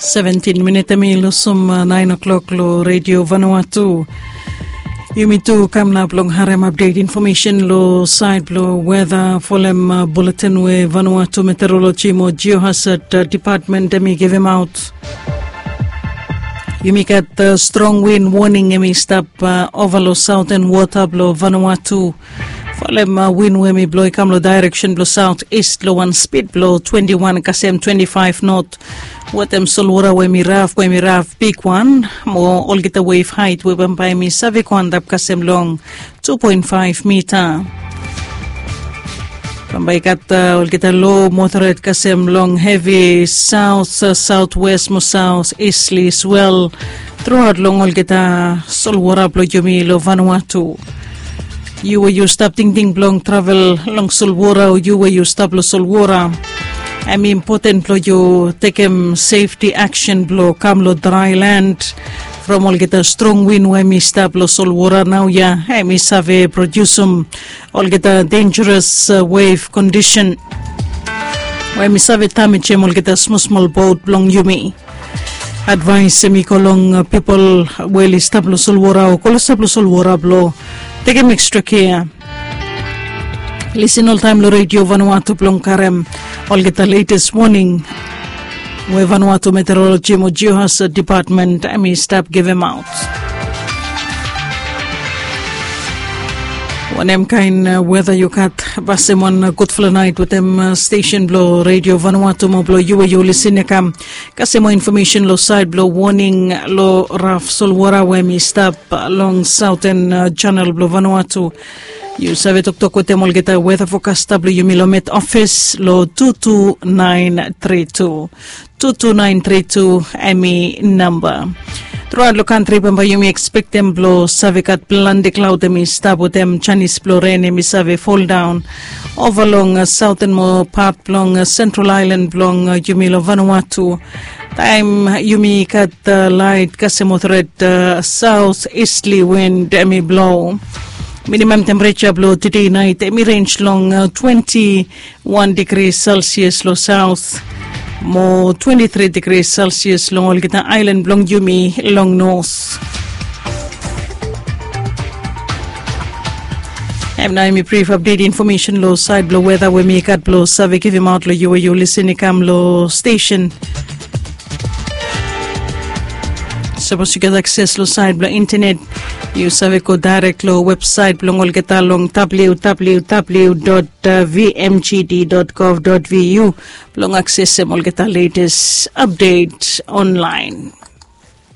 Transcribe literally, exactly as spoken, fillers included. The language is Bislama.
Seventin minit em i lusim nain o'klok long redio Vanuatu. Yumi tu kam nap long harim apdet infomesen long sait blong weda folem buletin we Vanuatu Meteorologi mo Geohazard Dipatmen em i givimaot. Yumi gat strong win woning em i stap ova long saoten wota blong Vanuatu. Folem win we em i blo i kam long daereksen blong saot ist long wan spid blong twenti wan kasem twenti faef not. Wetem solwora we em i raf we em i raf bigwan mo olgeta wef hait we bambae em i save go antap kasem long tu poen faef mita. Bambae i gat olgeta lo moderet kasem long hevi saot saotwes mo saot istli swel truaot long olgeta solwora blong yumi long Vanuatu. Yu we yu stap tingting blong travel long solwora o yu we yu stap long solwora, em i impoten blong yu tekem sefti aksen blong kam long draelan from olgeta strong win we em i stap long solwora naoia em i save prodiusim olgeta denjeres wef kondisen we em i save damejem olgeta smosmol bot blong yumi. Advaes em i go long pipol we oli stap long solwora o klosap long solwora blong tekem ekstra kea. Lisin oltaem long redio Vanuatu blong karem olgeta letes woning we Vanuatu Meteorologi mo Geohazard Dipatmen em i stap givimaot. Wanem kaen weda yu gat? Pasem wan gudfala naet wetem stesen blong redio Vanuatu mo blong yu we yu lisin ya kam kasem moa infomesen long sait blong woning long raf solwora we em i stap long saoten janel blong Vanuatu. Yu save toktok wetem olgeta weda fokasta blong yumi long met ofis long tu tu naen tri tu. Tu tu naen tri tu em i namba. Truaot long kantri bambae yumi ekspektem blong save gat plante klaod em i stap wetem janis blong ren em i save foldaon ova long saoten mo pat blong sentral aelan blong yumi long Vanuatu. Taem yumi gat laet kasem otoret saot istli win em i blo. Minimam tempereja blong tede naet em i renj long twenti wan digri selsias long saot mo twenti tri digri selsias long olgeta aelan blong yumi long nos. Em nao em i brif apdet infomesen long sait blong weda we mi gat blong save givimaot long yu we yu lisin i kam long stesen. Sapos yu gat akses long sait blong intenet, yu save go daerek long websait blong olgeta long www dot vmgd dot gov dot vu blong aksesem olgeta letes apdet onlaen.